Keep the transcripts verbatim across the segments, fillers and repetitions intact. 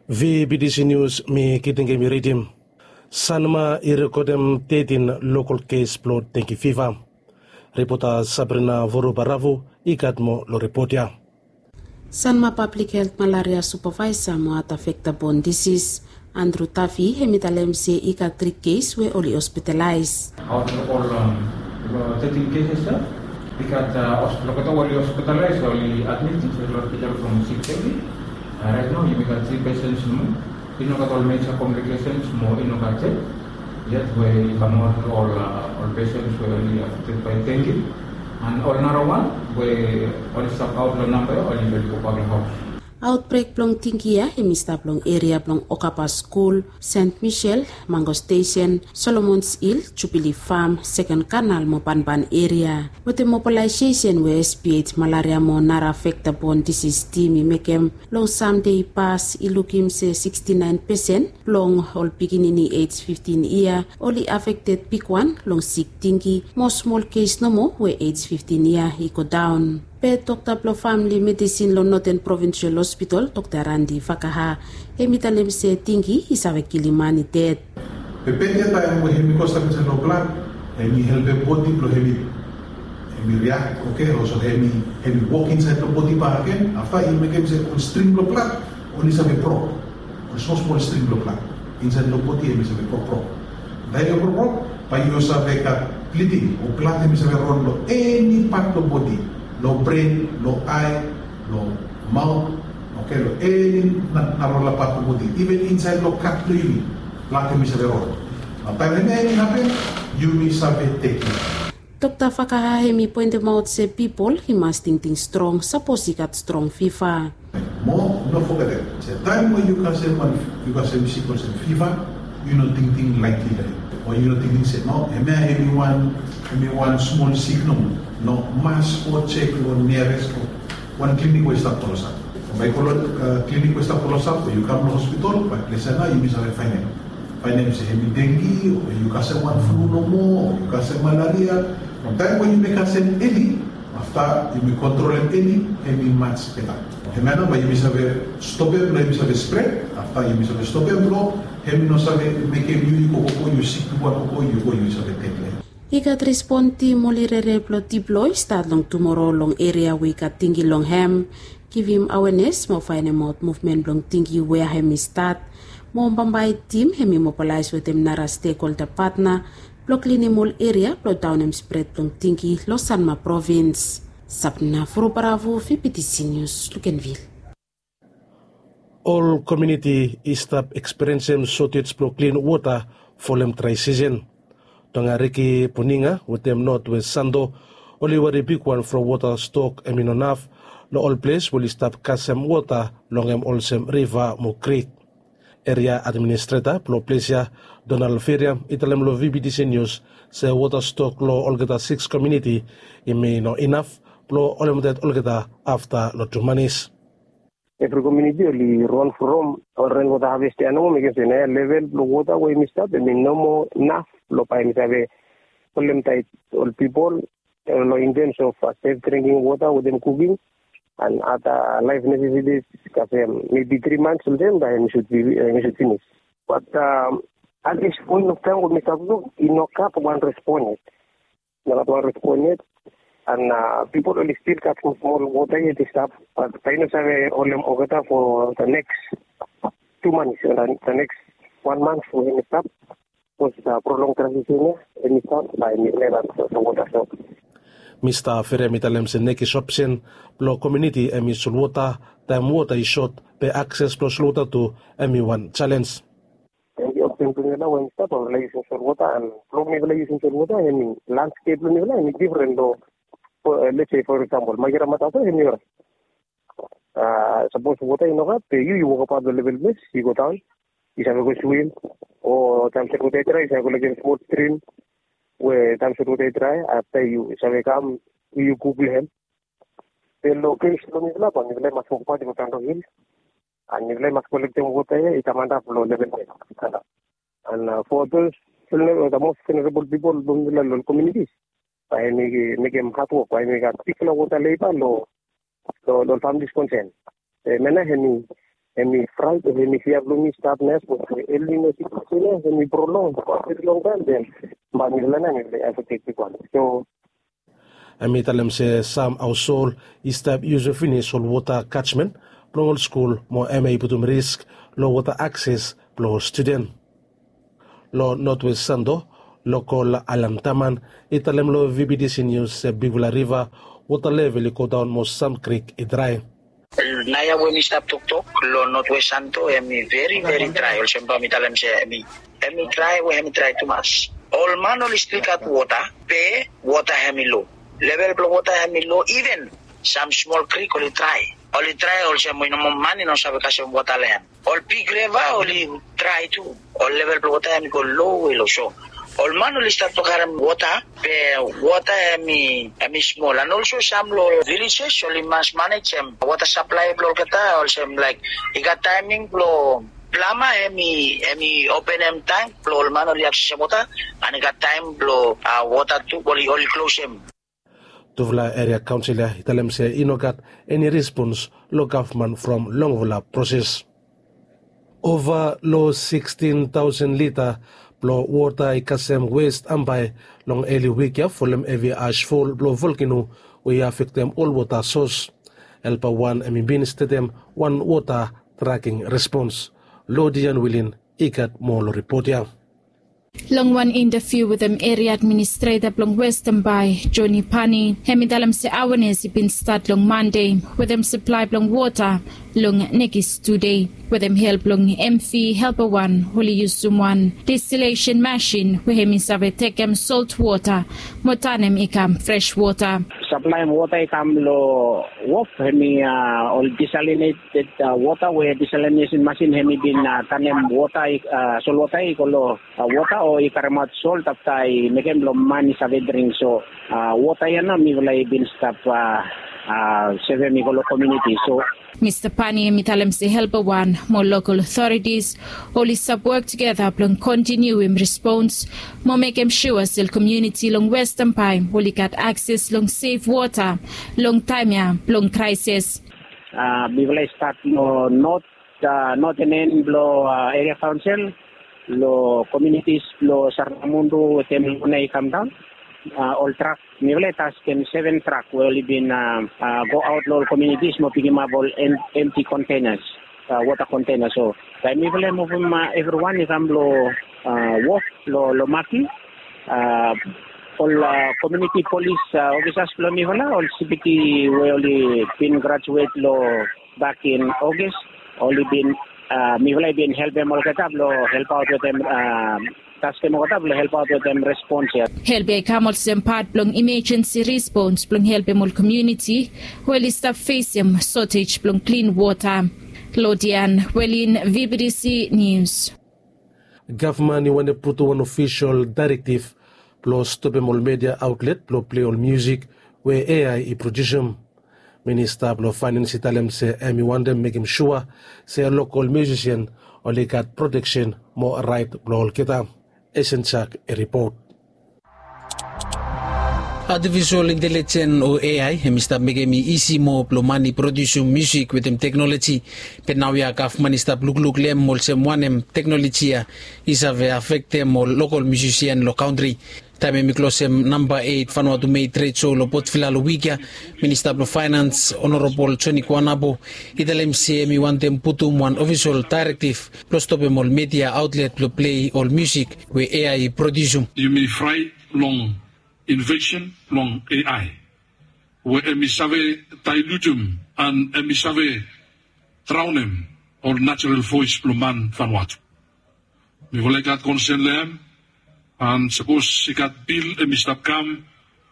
VBTC News, mi Kitingemi ridim. Sanma i rekodem tetin lokal kes blong dengi fiva. Ripota Sabrina Vorobaravu i gat moa long ripot ya. Sanma Public Health Malaria Supervisor mo Other Vector Borne Disease, Andrew Taffy, hemi talem se i gat tri kes we oli hospitalaes. Out of all, um, thirteen cases, sir, we got, uh, hos-, look at all the hospitalized, only admitted to the hospital from six thirty. Uh, right now, we got three patients more. I no gat ol major complications mo i no gat death yet we i kamap ol, uh, ol patients we oli affected by dengue. And ol nara wan we oli stap aot long namba ya oli, oli gobak long haos. Aotbrek blong dengue ya hemi stap long eria blong Okapa Skul, Saint Michel, Mango Station, Solomons Hill, Jubilee Farm, Second Canal mo banban eria. Wetem mobilaesesen we SPH Malaria mo nara Vector Borne Disease Team i mekem long Sande i pas i lukim se sixty nine percent blong ol pikinini age fifteen yia oli affected bigwan long sik dengue, mo smol kes nomo we age fifteen yia i go daon. Be dokta blong famili medisin long Northern Provincial Hospital, Dokta Randi Fakaha, hemi talem se dengue i save kilim man i ded. Be bad ya taem we hemi go stap insaed long blad, hemi helpem bodi blong hemi, hemi react, oke, olsem hemi, hemi wok insaed long bodi bakegen, afta i mekem se ol string blong blad oli save brok. Ol smol smol string blong blad insaed long bodi hemi save brok brok. Taem i brok brok, bae yu save gat bleeding o blad hemi save ron long eni pat blong bodi, long bren, long ae, long maot, oke, long eni na, narafala pat blong bodi, iven insaed long kat blong yumi, blad hemi save ron. Nao taem eni, eni hapen, yumi save tekem. Dokta Fakaha hemi poentemaot se pipol i mas tingting strong sapos i gat strong fiva. Mo no fogetem se taem we yu kasem wan, yu kasem sik olsem fiva, yu no tingting laetli long hem. O yu no tingting se no, hemia hemi wan, hemi wan smol sik nomo. No, mas go jek long niares wan klinik we i stap klosap. Bae yu go long, uh, klinik we i stap klosap o yu kam long hospital, bae ples ya nao yumi save faenem, faenem se hemi dengue o yu kasem wan flu nomo o yu kasem malaria. From taem we yumi kasem eli, afta yumi kontrolem eli, hemi maj beta. Hemia nao bae yumi save stopem blong hemi save spred, afta yumi save stopem blong hemi no save mekem yu, yu go, go, go, yu sik, yu go, go, go, yu go, yu save ded long hem. I gat respon tim oli rere blong deploy stat long tumoro long eria we i gat dengue long hem, givim awenes mo faenemaot muvmen blong dengue wea hemi stat. Mo bambae tim hemi mobilaes wetem nara stekholda patna blong klinim ol eria blong daonem spred blong dengue long Sanma provins. Sabna Furubaravu, VBTC News, Luganville. Ol komuniti i stap ekspiriensem sotej blong klin wota folem drae sisen. Tongariki, Buninga wetem Notwest Santo oli wari bigwan from wota stok hemi no naf long ol ples we oli stap kasem wota long hem olsem riva mo krik. Eria administreta blong ples ya, Donald Feriam, i talem long VBTC News se wota stok long olgeta sikis komuniti hemi no inaf blong holem ded olgeta afta long tu manis. Evri komuniti oli ron from ol renwota havest ya nomo, mekem se nao ya level blong wota we hemi stap hemi no moa naf blong bae hemi save holem taet ol pipol, eh, long in terms of, uh, safe drinking water wetem cooking and other life necessities, kasem maybe three months olsem bae hemi should be, eh, hemi should finish. But, um, at this point of time we mi stap luk i no gat wan respon yet. No gat wan respon yet. And, uh, pipol oli stil gat smol smol wota yet i stap. But bae i no save holem olgeta for the next two months, uh, the next one month we hemi stap. Sapos, uh, prolong drae sisen ya hemi stap, bae hemi run aot long wota stok. Mista Feriam i talem se nekis opsen blong komuniti hemi solwota. Taem wota i sot, be akses blong solwota tu hemi wan jalenj. Hemi opsen blong mifala we hemi stap, mifala yusum solwota, and blong mifala yusum solwota hemi landskep blong mifala hemi difren long, uh, let's say for example, Magira Matasa hemi orait. Uh, sapos wota i no gat, be yu, yu wokabaot long level ples, yu go daon, yu save go swim, o taem solwota i drae yu save go long wan smol strim we taem solwota i drae, afta yu save kam yu kuk long hem. Be long kes blong mifala, bae mifala i mas wokabaot i go daon long hil, and mifala i mas kolektem wota ya i kam antap long level ples. And, uh, for those vulner-, the most vulnerable people blong mifala long komunitis, bae hemi mekem hadwok, bae hemi gat bigfala wota leba long, long, long families konsen. Hemia nao hemi Hemi fraet o hemi fia blong mi stap na ya sapos we elines i kosem ya hemi prolong for a very long time, then bae mifala nao mifala i afekted bigwan. So hemi talem se sam haoshol i stap yusum finis ol wota kajmen blong ol skul mo hemia i putum risk long wota akses blong ol studen. Long Notwest Santo, lokol Alan Taman i talem long V B T C News se bigfala riva wota level i godaon mo sam krik i drae. Naoia we mi stap toktok long Notwest Santo, hemi veri veri drae, olsem bae mi talem se hemi hemi drae we hemi drae tumas. Ol man oli stil gat wota, be wota hemi lo. Level blong wota hemi lo, iven sam smol krik oli drae. Oli drae olsem we nomo man i no save kasem wota long hem. Ol big riva oli drae tu. Ol level blong wota hemi go lowe lo. So ol man oli stat blong karem wota, be wota hemi hemi smol. And also sam long villages oli mas manejem wota saplae blong olgeta, olsem laek i gat taeming blong plama hemi hemi openem tank blong ol man oli aksesem wota, and i gat taem blong wota tu oli oli klosem. Tufala eria kaonsel ya i talem se i no gat eni respons long gavman from longfala proses. Ova long sikstin taosen lita blong wota i kasem wes ambae long eli wik ya folem hevi asfol blong volkeno we i afektem ol wota sos. Helpa wan hemi bin stetem wan wota traking respons. Lodian Wilin i gat moa long ripot ya. Long wan intaviu wetem eria administreta blong Weston Bay, Joni Pani, hemi talem se awenes i bin stat long Mande wetem saplae blong wota long nekis tu dei wetem help blong M V Helper wan oli yusum wan destilation masin we hemi save tekem solt wota mo tanem i kam fres wota. Saplaem wota i kam long wof hemi ol desalinated wota we desalinesen masin hemi bin tanem wota, solwota i go long wota o i karemaot sol tafta i mekem blong man i save dring. So wota ya nao mifala i bin stap sevem i go long komiuniti. So Mista Pani hemi talem se Helper wan mo lokal otoritis oli stap wok tugeta blong kontiniuim respons mo mekem sua se komiuniti long Weston Bay oli gat akses long sef wota long taem ya blong kraesis. Mifala i stat long not noten en blong eria kaonsel long komiunitis blong Saramundu wetem Luna i kamdaon. Ol trak mifala i taskem seven trak we oli bin goaot long ol komiunitis mo pikimap ol emti kontenas, wota kontenas. So taem mifala i muvum evriwan i kam long wok long Maki, ol komiuniti polis ofisas blong mifala, ol C P T we oli bin grajuet long bakin Ogis, oli bin mifala i bin helpem olgeta blong helpaot wetem, taskem olgeta blong helpaot wetem respons ya. Help ya i kam olsem pat blong imejensi respons blong helpem ol komiuniti we oli stap fesem sotej blong klin wota. Lodian Welin, V B T C News. Gavman i wantem putum wan ofisol daerektiv blong stopem ol media aotlet blong plei ol musik we A I i produsim. Minista blong faenens i talem se hemi wantem mekem sua se lokol musisian oli gat proteksen mo raet blong olgeta. Esen Jak i ripot. Atifisol intelijen o A I hemi stap mekem i isi moa blong man i produsim musik wetem teknoloji. Be naoia gavman i stap lukluk long hem olsem wanem teknoloji ya i save afektem ol lokol musisian long kantri. Taem hemi klosem namba eit Vanuatu Mei tred so long Port Vila long wik ya, Minista blong Faenens Honorabol Joni Kuanabo i talem se hemi wantem putum wan ofisol daerektiv blong stopem ol media aotlet blong plei ol musik we A I i produsim. Yumi fraet long invensen blong A I we hemi save daelutem and hemi save draonem ol najerol voes blong man Vanuatu. Mifala i gat konsen long hem, and sapos i gat bil hemi stap kam,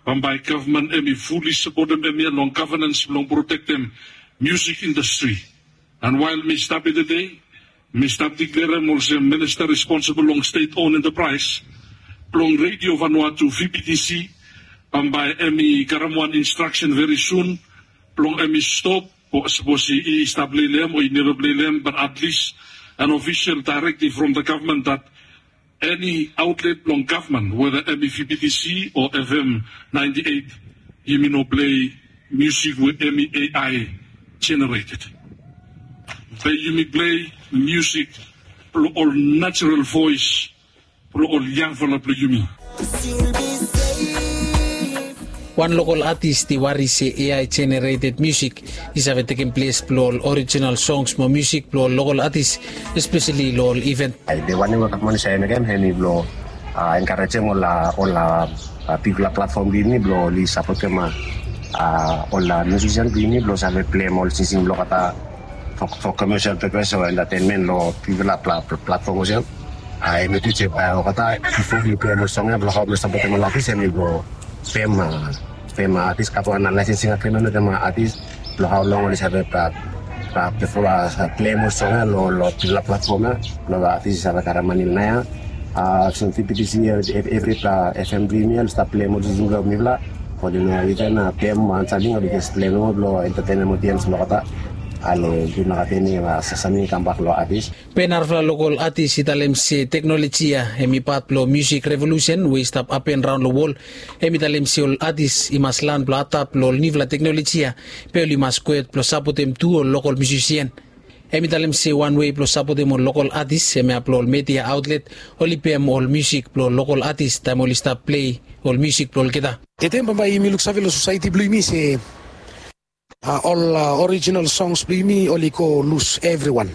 bambae gavman hemi fuli sapotem hemia long gavenens blong protektem musik indastri. And wael mi stap ya tede, mi stap diklerem olsem minista responsibol long stet on entapraes blong Redio Vanuatu, V B T C, bambae hemi karem wan instraksen veri sun blong hemi stop, sapos i stap lei long hem o i neva plei long hem, bat atlis an ofisol daerektiv from the gavman dat eni aotlet blong gavman, weta hemi V B T C o F M ninety eight, yumi no plei musik we hemi A I jenereted. Be yumi plei musik blong ol natural voes blong ol yangfala blong yumi. Wan lokol atis i wari se A I generated musik i save tekem ples blong ol orijinal songs mo musik blong ol lokol atis, espeseli long ol iven. Ai de wanem we gavman i save mekem hemi blong enkarejem ol ol bigfala platfom blong yumi blong oli sapotem ol musisian blong yumi blong save plem ol singsing blong olgeta for commercial purpose o entertainment long bigfala platfom olsem. Ai mi tu se bae olgeta bifo mi plem ol song ya blong hao mi sapotem ol atis hemi blong pem pem atis gat wan licensing agreement wetem atis blong hao long oli save bifo plem ol song ya long bigfala platfom ya blong atis i save karem mani long ya. Olsem V B T C evri F M blong yumi oli stap plem ol singsing blong mifala. Oli no iven pem wan samting oli jes plem nomo blong entertainem odiens blong olgeta. Ale yumi no gat eni samting i kambak long atis. Be narafala lokol atis i talem se teknoloji ya hemi pat blong musik revolusen we i stap hapen raon long wol. Hemi talem se ol atis i mas lan blong adap long ol niufala teknoloji ya. Be oli mas gohed blong sapotem tu ol lokol musisian. Hemi talem se wan wei blong sapotem ol lokol atis hemia blong ol media aotlet oli pem ol musik blong ol lokol atis taem oli stap plei ol musik blong olgeta. Ede bambae yumi luksave long sosaeti blong yumi se ol orijinal songs blong yumi oli go lus evriwan.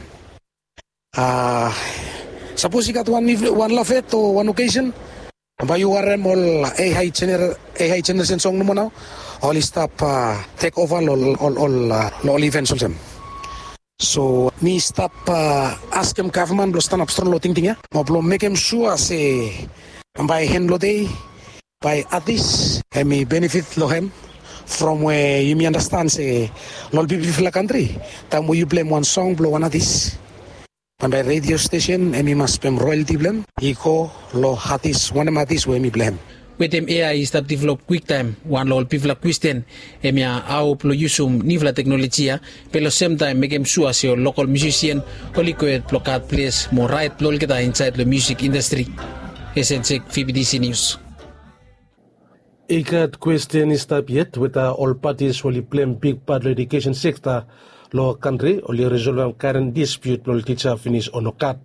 Sapos i gat wan lafet o wan okesen, bae yu harem ol A I jeneresen song nomo nao oli stap tek ova long ol ivens olsem. So mi stap askem gavman blong stanap strong long tingting ya mo blong mekem sua se bae hen blong dei bae atis hemi benefit long hem. From we yumi andastan se long ol bigfala kantri, taem we yu plem wan song blong wan atis, bae redio stesen hemi mas pem royalti blong hem i go long atis wanem atis we hemi blong hem. Wetem A I i stap develop kwiktaem, wan long ol bigfala kwesten hemia hao blong yusum niufala teknoloji ya be long semtaem mekem sua se ol lokol musisian oli gohed blong gat ples mo raet blong olgeta insaed long musik indastri. Esensek, V B T C Nius. I gat kwesten i stap yet weta ol patis we oli plem bigpat long edukesen sekta long kantri oli risolvem karen dispiut blong ol tija finis o nogat.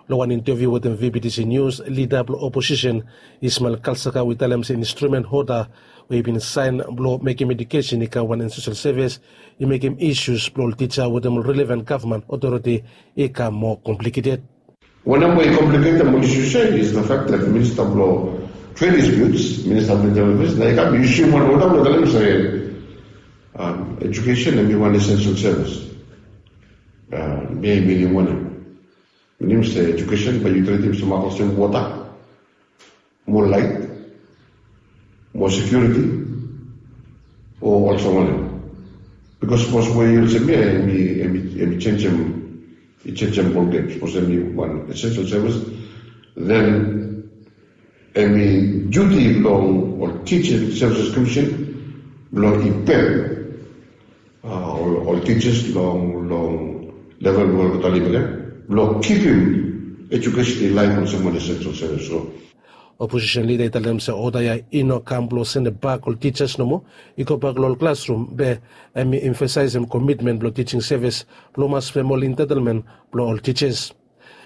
Long wan inteviu wetem V B T C Nius, lida blong oposisen Ismael Kalsaka we i talem se instrumen oda we i bin saen blong mekem edukesen i kam wan esensel sevis i mekem isius blong ol tija wetem ol relevan gavman otoriti i kam moa kompliketed. Wanem we i kompliketem ol isius ya is the fact that minista blong tred dispiuts, minista blong tred dispiuts na i kam i yusum wan oda blong talem se edukesen hemi wan esensel sevis. Mi i minim wanem? Minim se edukesen bae yu tritim se mak olsem wota, mo laet, mo sekiuriti, o olsem wanem? Bikos sapos we yu olsem ya hemi hemi hemi jenjem, i jenjem bolgem. Sapos hemi wan esensel sevis, then hemi diuti blong ol Tija Sevises Komisen blong i pem ol tijas long long level we olgeta i lifim ya blong kipim edukesen i laef olsem wan esensel sevis. So oposisen lida i talem se oda ya i no kam blong sendem bak ol tijas nomo, i gobak long ol klasrum be hemi emfasaesem komitmen blong tijing sevis blong mas pem ol entaetelmen blong ol tijas.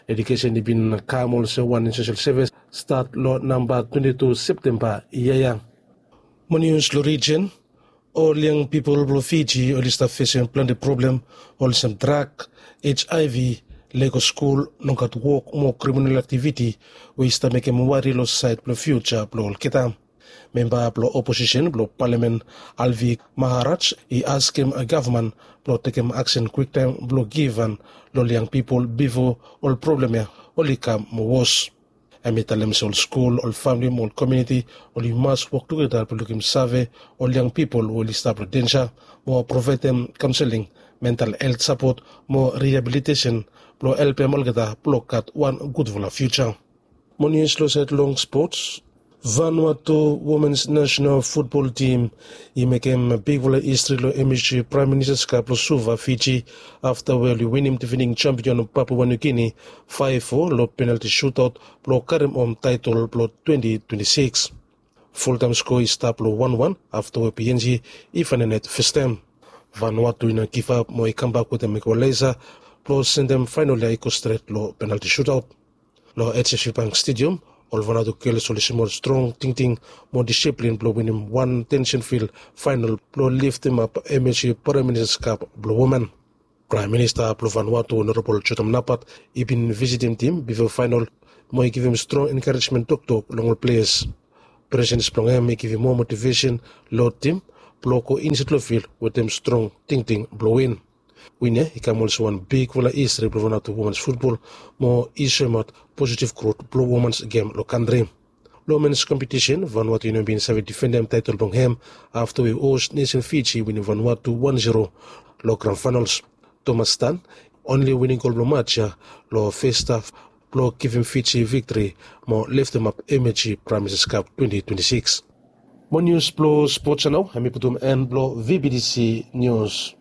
Edukesen i bin kam olsem wan esensel sevis stat long namba twenti tu Septemba yia ya. Mo nius long rijen, ol yang pipol blong Fiji oli stap fesem plante problem olsem drak, H I V, lego skul, nogat wok mo kriminal aktiviti we i stap mekem wari long saed blong fiuja blong olgeta. Memba blong oposisen blong palamen Alvi Maharaj i askem gavman blong tekem aksen kwiktaem blong givhan long ol yang pipol bifo ol problem ya oli kam moa wos. Hem i talem se ol skul, ol famle mo ol komuniti oli mas wok tugeta blong lukim save ol yang pipol we oli stap long denja mo provaedem kaonseling, mental helt sapot mo riabilitesen blong helpem olgeta blong gat wan gudfala fiuja. Mo nius long saed long spots, Vanuatu womens nasenal futbol tim i mekem bigfala histri long M H G Praem Ministas Kap long Suva, Fiji, afta we oli winim difening jampion Papua Niu Gini faef fo long penalti sutaot blong karem hom taetol blong twenti twenti sikis. Fultaem skoa i stap long wan wan afta we P N G i faenem net fastaem. Vanuatu i no givap mo i kambak wetem igualesa blong sendem faenol ya i go stret long penalti sutaot. Long HFC Bank Stadium, ol Vanuatu gels oli smol strong tingting mo disiplin blong winim wan tension fil faenol blong liftimap MHC Prime Minister's Cup blong women. Prime Minister blong Vanuatu Honorable Jotam Napat i bin visitim tim bifo faenol mo i givim strong enkarejmen toktok long ol ples. Presens blong hem i givim moa motivesen long tim blong go insaed long fil wetem strong tingting blong win. Win ya i kam olsem wan bigfala histri blong Vanuatu womans futbol mo i soemaot positiv grot blong womans gem long kantri. Long mens kompetisen, Vanuatu i no bin save difendem taetol blong hem afta we hos nesen Fiji i winim Vanuatu wan zero long gran faenols. Thomas Stan onli wining gol blong mats ya long fes haf blong givim Fiji viktri mo liftimap MHC Prime Minister's Cup twenti twenti sikis. Mo nius blong spots ya nao hem i putum en blong VBTC Nius.